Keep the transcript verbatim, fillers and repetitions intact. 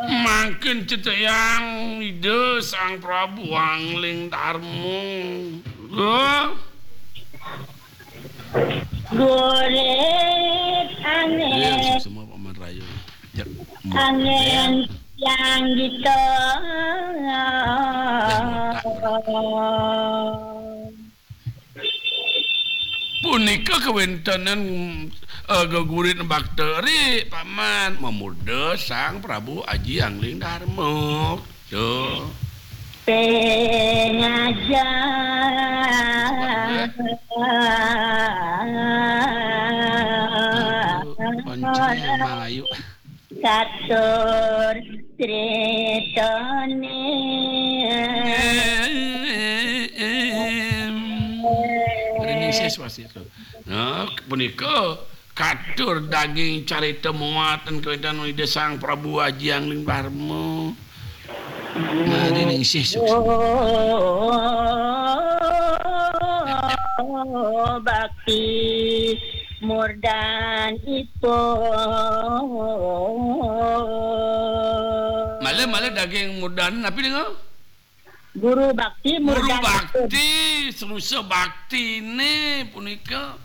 Mangkin ceteyang Ida Sang Prabu Angling Darma. Lho. Gurit angin. Iya, suksma Paman Rayu. Ya, angin yang gitu. Dah, ngotak, ngotak. Punika kawéntenan, eh, gegurit bakteri, Paman, mamurda Sang Prabu Aji Angling Darma. Tuh. Pengajar. Aduh, koncone emang ayu. Katur critane. Ringis wasiat. Nah, punika katur daging carita muatan kawéntenan Ida Sang Prabu Aji Angling Darma. Nah, ringis suksma. Bakti murdanipun. Malah, malah daging murdan, napi dengan? Guru bakti. Guru murdanipun. Bakti, selusa baktine punika.